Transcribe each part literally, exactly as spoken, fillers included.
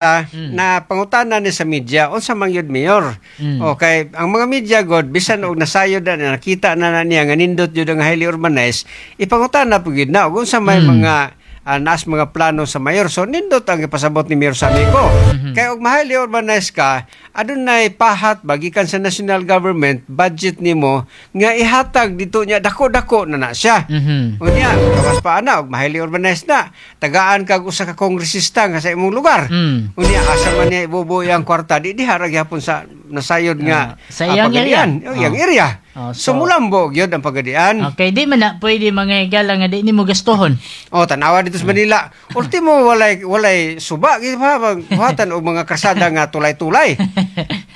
Mm. Na pangutana ni sa media unsa man gyud, Mayor. Mm. Okay, ang mga media god, bisan og nasayod na, nakita na, na niya nga nindot gyud ang highly urbanized, ipangutana po gyud na og unsa may Mm. mga uh, naas mga plano sa mayor. So nindot ang ipasabot ni Mayor Samico. Mhm. Kay og ma-highly urbanized ka, adunay pahat bagikan sa national government budget nimo nga ihatag dito niya, dako-dako na na siya. Mhm. Unya, kawas pa ana og ma-highly urbanized na, tagaan kag usa ka kongresista nga sa imong lugar. Mm. Unya, asa man niya ibubuhi ang kwarta? Di diha ra gyapon sa nasayod nga Ah, sa iyang ah, pagadian. area. Oh, iyang Oh. area. Oh, so, so- mulambo gyud ang pagadian. Okay, di man na pwede, mga higala, nga di nimo gastuhon. Oh, tanawa dito sa Manila. Ultimo walay walay suba gyud pa buhatan og mga kasada nga tulay-tulay.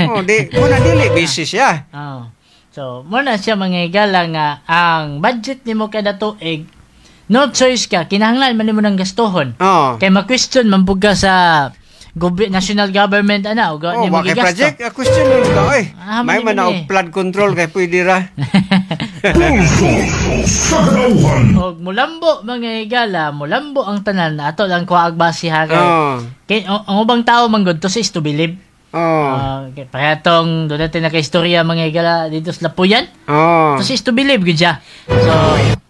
Oh, di muna dili busy siya. Oh. So, mo na siya, mga higala, nga ang budget nimo kada tuig, no choice ka, kinahanglan man nimo ng gastuhon. Oh. Kay ma-question man pud ka sa gobi- national government ana og Oh, nimo wa kay gigasto. project, a question nun ka oy. Ah, May man man na ni. og flood control kay pwede ra. Pulso sa Katawhan. Og mulambo, mga higala, mulambo ang tanan na ato lang kuha base ha kay Oh. kay ang, ang ubang tao man gud, to is to believe. Oh. Uh, kaya tong doon natin nakaistorya, mga higala, dito sa Lapuyan. Oh. To is to believe gud siya. So,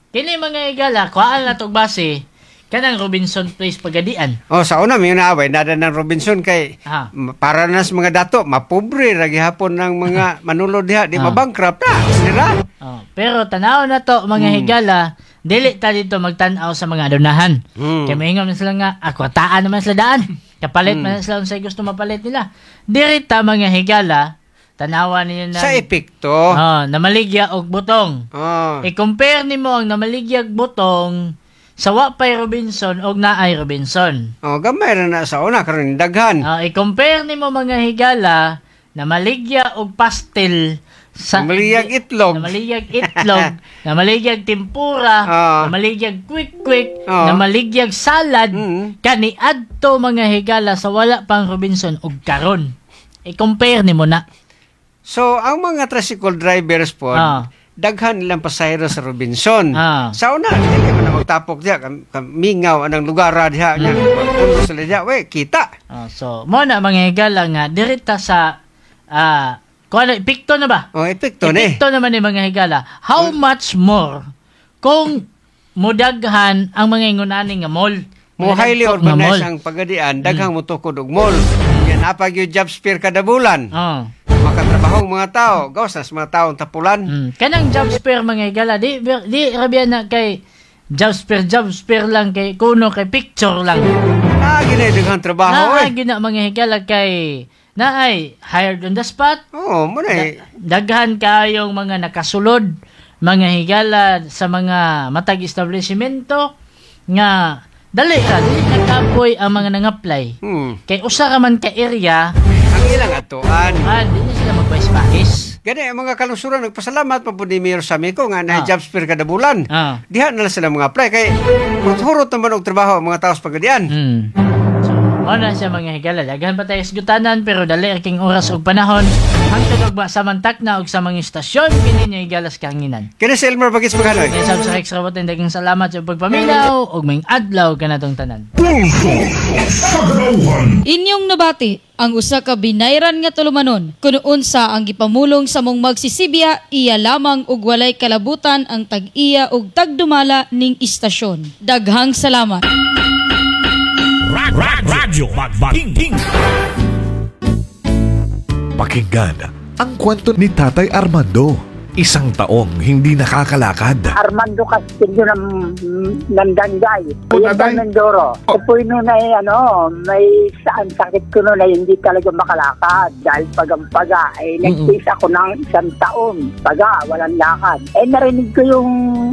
kini, mga higala, kuhaan na tog base kanang Robinson Place Pagadian. Oh, sa una may naaway nada ng Robinson kay Ah. m- para na sa mga dato, mapobre ra gihapon ng mga manulod diha, di Ah. mabankrupt na sila. Oh, pero tanaw na to, mga Hmm. higala, dili ta dito magtan-aw sa mga adunahan. Mm. Kay moingon man sila nga akwataan naman sila daan. Kapalit man sila unsay gusto mapalit nila. Diri ta, mga higala, tanawa ninyo na Sa epekto. Oh, namaligya og butong. Oh. I-compare nimo ang namaligyag butong sa wa pay Robinson og naay Robinson. Oh, gamay ra na sa una, karon daghan. Ah, i-compare nimo, mga higala, namaligya og pastel sa Namaligyag itlog. Namaligyag itlog, namaligyag tempura, Ah. namaligyag quick quick, Ah. namaligyag salad Mm. kani adto, mga higala, sa wala pang Robinson ug karon. I-compare nimo na. So, ang mga tricycle drivers po, Ah. daghan nilang pasahero sa Robinson. Ah. Sa una, dili man na magtapok diha, kam, kam, mingaw anang lugar ra diha nya. Puno sila diha, we, kita. Ah, so mo na, mga higala, nga dirita sa ah kuan, epekto na ba? Oh, epekto ni. Epekto naman ni, mga higala. How much more kung mudaghan ang mga ingunani nga mall? Mo Mga highly dagko nga mall. urbanized ang Pagadian, daghang motukod og mall. Yan apag yung job fair kada bulan. Oh. Makatrabaho ang mga tao, gawas na sa mga taong tapulan. Mm. Kanang job fair, mga higala, di di rabian na kay job fair, job fair lang kay kuno kay picture lang. Ah, ginay daghang trabaho Naa eh. gyud na, mga higala, kay naay hired on the spot. Oo, mo na eh. Daghan kayong mga nakasulod, mga higala, sa mga matag establishmento nga dali ra dili nakapoy ang mga nang-apply. Hmm. Kay usa ra man ka area. Ang ilang atuan. Ah, di na sila magpais-pais. Gani ang mga kalungsuran nagpasalamat pa po ni Mayor Samico nga na Ah. job fair kada bulan. Ah. Diha na lang sila mga apply kay hurot naman og trabaho ang mga tao sa Pagadian. Mm. So, mao na siya, mga higala. Daghan pa tayo sgutanan pero dali ra king oras ug panahon. Hangtod og ba samantak na og sa mga istasyon kini niyo higalas kahanginan. Kini si Elmer Bagis Maghanoy. Kaya sab sa Rex Rabotin, daghang salamat sa pagpaminaw ug maayong adlaw kanatong tanan. Pulso sa Katawhan. Inyong nabati ang usa ka binayran nga tulumanon kun unsa ang gipamulong sa mong magsisibya, iya lamang ug walay kalabutan ang tag-iya ug tagdumala ning istasyon. Daghang salamat. Radyo Magbanging. Pakinggan ang kwento ni Tatay Armando. Isang taong hindi nakakalakad. Armando Castillo ng, ng Dangay. Po, Oriental tatay. Mindoro. Oh. Oh. Po noon ay ano, may saan sakit ko noon ay hindi talaga makalakad dahil pagampaga. Ay nagtiis ako ng isang taon. Paga, walang lakad. Eh narinig ko yung